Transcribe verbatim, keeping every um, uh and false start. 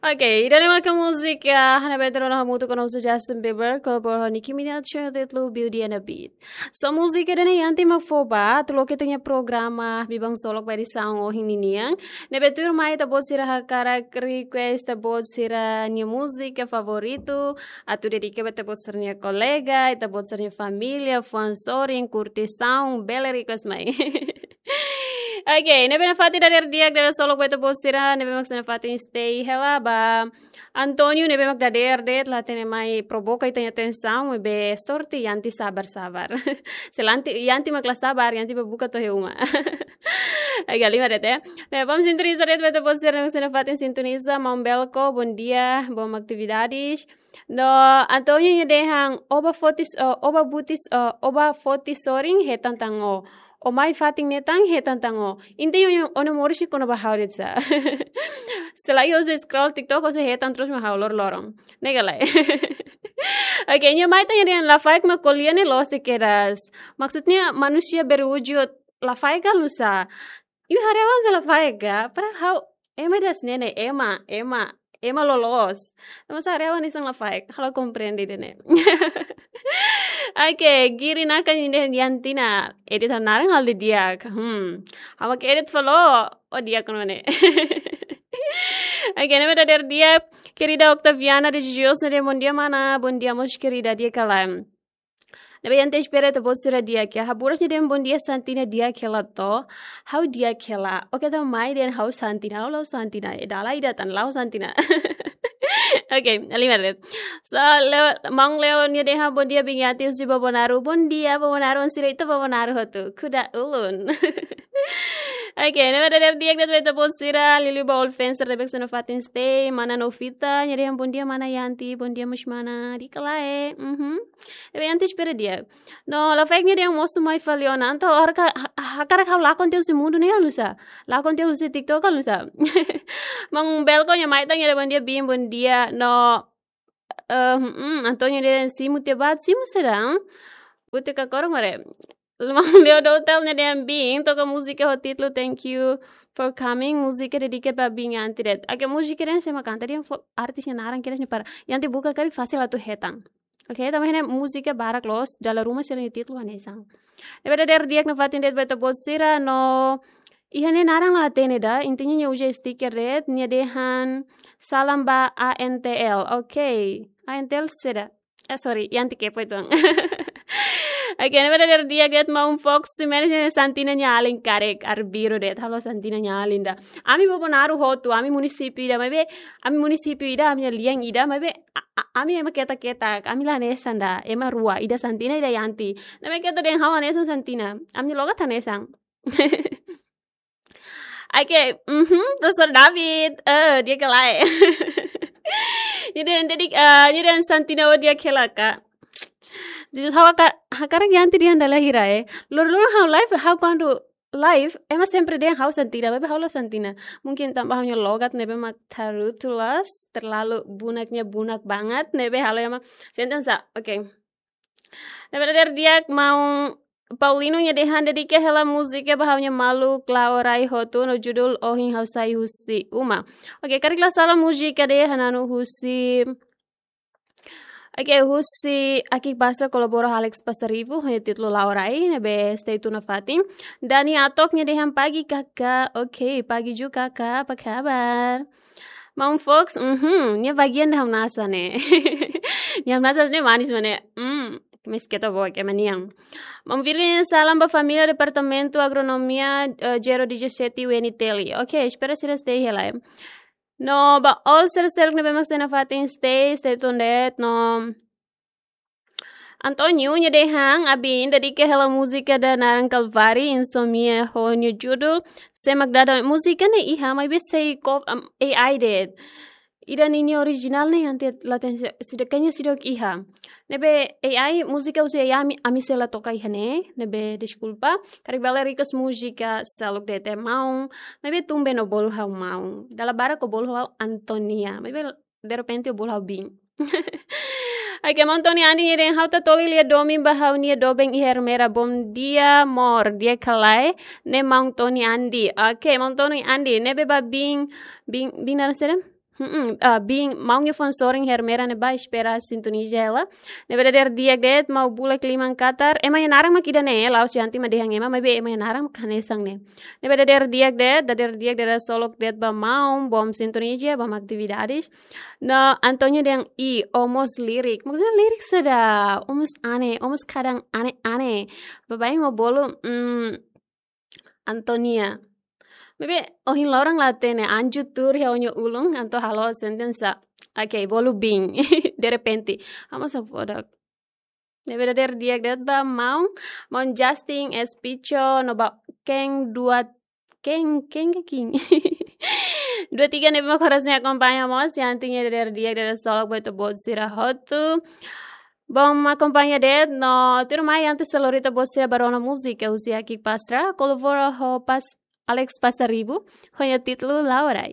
Ok, ida-ne'e maka múzika, ah, ne'ebé tuur ona hamutuk ho Justin Bieber, kolabora ho Nicki Minaj, ho títulu Beauty and the Beast. So múzika ida-ne'e Yanti mak fó ba, atu loke ita-nia programa, Biban Solok ba edisaun ohin ninian. Ne'ebé tuirmai ita-boot sira hakarak request ita-boot sira-nia múzika favoritu, atu dedika ba ita-boot sira-nia kolega, ita-boot sira-nia família, fuan sorin, kurtisaun, bele request mai. Ok, ne'ebé nafatin dadeer di'ak, dadeer solok ba ita-boot sira, ne'ebé mak sei nafatin stay hela ba Antonio, ne'ebé mak dadeer de'it la hatene mai provoka ita-nia atensaun, ne'ebé sorte Yanti sabar-sabar. Se la Yanti, Yanti mak la sabar, Yanti ba buka to'o iha uma. Agora halimar de'it. Ne'ebé mak sintoniza de'it ba ita-boot sira, ne'ebé mak sei nafatin sintoniza, maun Belko, bondia, bom atividades. No Antonio nia dehan, ó ba foti s-, ó, ó ba buti s-, ó, ó ba foti sorin hetan tan ó. Ó mai fatin ne'e tan hetan tan ó. Inti ó, ó-nia moris sei kona-ba ha'u de'it sá. Selae ó sei scroll TikTok, ó sei hetan terus mak ha'u lor-loron. Ne'e ka lae. Ok, nia mai tan nia dehan lafaek mak ko'alia ne'e loos de'it kedas. Maksudnya manusia beruju lafaek ka nusá. Imi haree ha'u hanesan lafaek ka? Padahal ha'u ema das nene, ema, ema, ema loloos. Tanba sá haree ha'u hanesan lafaek, ha'u la komprende ida-ne'e. Ok, Giri Naka nia dehan Yanti nia edit ha'u-nia naran halo di'ak. Hmm. Ha'u mak edit fali, ó di'ak nune'e. Ok, ne'ebé dadeer di'ak, querida Octaviana de Jujus, nia dehan bondia mana, bondia mós querida, di'ak ka lae. Ne'ebé Yanti espera ita-boot sira di'ak ka. Haburas nia dehan bondia Santina di'ak hela to. Ha'u di'ak hela. Ok, ita mai dehan ha'u Santina, ha'u la'ós Santina. Ida-ne'e ida tan la'ós Santina. Ok, halimar de'it. So, Leo, maun Leo nia dehan bondia biin Yanti husi Bobonaro. Bondia Bobonaro, sira ita Bobonaro hotu. Kuda ulun. Ok, ne'ebé dadeer di'ak de'it ba ita-boot sira, liuliu ba Old Fencer, ne'ebé sei nafatin stay, mana Novita, nia dehan bondia mana Yanti, bondia mós mana, di'ak ka lae, mhm. Ne'ebé Yanti espera di'ak. No, lafaek nia dehan mosu mai fali ona, entaun hakarak, ha-, hakarak ha'u lakon tiha husi mundu ne'e ka nusá. Lakon tiha husi TikTok ka nusá. Maun Belko nia mai tan nia dehan bondia biin, bondia, no, eh, mm, Antonio dehan simu tiha ba, simu saida? Bute ka korong mare. Maun Leo Doutel nia dehan biin, toka múzika ho títulu Thank You for Coming, múzika dedika ba biin Yanti de'it. Ok, múzika ida-ne'e sé mak kanta, dehan fó artis nia naran kedas ne'e para Yanti buka karik fasil atu hetan. Ok, tanba ne'e múzika barak loos, dala ruma sira-nia títulu hanesan. Ne'ebé dadeer di'ak nafatin de'it ba ita-boot sira, no iha ne'e naran la hatene ida, intinya nia uza stiker de'it, nia dehan salam ba A N T L. Ok, A N T L saida? Eh, sorry, Yanti kepo uitoan. Ok, ne'ebé dadeer di'ak de'it maun Fox Ximenes nia dehan Santina nia alin karik, arbiru de'it, ha'u la'ós Santina nia alin ida. Ami Bobonaro hotu, ami munisípiu ida, maibé, ami munisípiu ida, ami-nia lian ida, maibé, a-, a-, ami ema ketak-ketak, ami la hanesan ida, ema rua, ida Santina, ida Yanti. Ne'ebé keta dehan ha'u hanesan Santina, ami-nia logat hanesan. Ok, mhm, Profesór David, eh, di'ak ka lae. Nia dehan, nia dehan, eh, nia dehan Santina ó di'ak hela ka. Jadi ha'u haka-, hakarak Yanti dehan dala hira, eh. Loroloron ha'u live, ha'u kuandu live, ema sempre dehan ha'u Santina, maibé ha'u la'ós Santina. Mungkin tanba ha'u-nia logat ne'ebé mak tarutulas, terlalu bunak nia bunak banget, ne'ebé halo ema sente sá, ok. Ne'ebé dadeer di'ak maun Paulino nia dehan dedika hela múzika ba ha'u-nia maluk la'o rai hotu no judul Ohin Ha'u Sai Husi Uma. Ok, karik la sala múzika ida-ne'e hananu husi, ok, husi Aki Pastra kolabora ho Alex Pasaribu, ho nia títulu La'o Rai, ne'ebé stay tune nafatin. Dani Atok nia dehan pagi kakak, ok, pagi juga kakak, apa kabar? Maun Fox, mhm, nia bagian ida hamnasa ne'e. Nia hamnasa ne'e manis mak ne'e. Hmm, mais keta boa ke maniang. Maun Virgo nia salam ba família Departamentu Agronomia, eh, Zero dezasete U N T L. Ok, espera sira stay hela, eh. No, ba all sira seluk ne'ebé mak sei nafatin stay, stay tuned, no. Antonio nia dehan, abin, dedika hela múzika ida naran Kalvari, Insomnia ho nia judul, sé mak dada múzika ne'e iha, maibé sei kop-, am, A I de'it. Ida ninia orijinál ne'e Yanti la hatene sá, seidauk, kayaknya seidauk iha. Ne'ebé A I, múzika husi A I ami, ami sei la toka iha ne'e, ne'ebé deskulpa. Karik bele request múzika seluk de'it maun, maibé tun be ó bolu ha'u maun. Dala barak ó bolu ha'u Antonia, maibé derrepente ó bolu ha'u bin. Ok, maun Tony Andi nia dehan ha'u Tatoli lia domin ba ha'u-nia doben iha Ermera. Bom dia, amor. Di'ak ka lae, ne'e maun Tony Andi. Ok, maun Tony Andi, ne'ebé ba bin, bin, bin naran saida? Hmm, ah, bin, maun nia fó sorin hermera ne'ebá, espera sintoniza hela. Ne'ebé dadeer di'ak de'it, maun Bulak liman Qatar. Ema nia naran mak ida-ne'e, la'ós Yanti mak dehan ema, maibé ema nia naran mak hanesan ne'e. Ne'ebé dadeer di'ak de'it, dadeer di'ak de'it, solok de'it ba maun, bom sintoniza, bom atividades. No, Antonia dehan, i, o mós lirik. Maksudnya lirik saida, o mós aat, o mós kadang aat-aat. Baibain ho bolu, mm, Antonia. Maibé, ohin loron la hatene, anju tuur iha ó-nia ulun, entaun halo sentensa. Oke, bolu bin. De repente. Ha'u mós hakfodak. Ne'ebé dadeer di'ak de'it ba maun, maun Justin, S Picho, no ba Ken dua, Ken, Ken ke King. Dua tiga ne'ebé mak horas ne'e akompaña mós, Yanti nia dadeer di'ak de'it solok ba ita-boot sira hotu. Bom, akompaña de'it, no tuirmai antes de lori ita-boot sira ba rona múzika, husi Aki Pastra, kolabora ho pas Alex Pasaribu, ho nia títulu Laurai.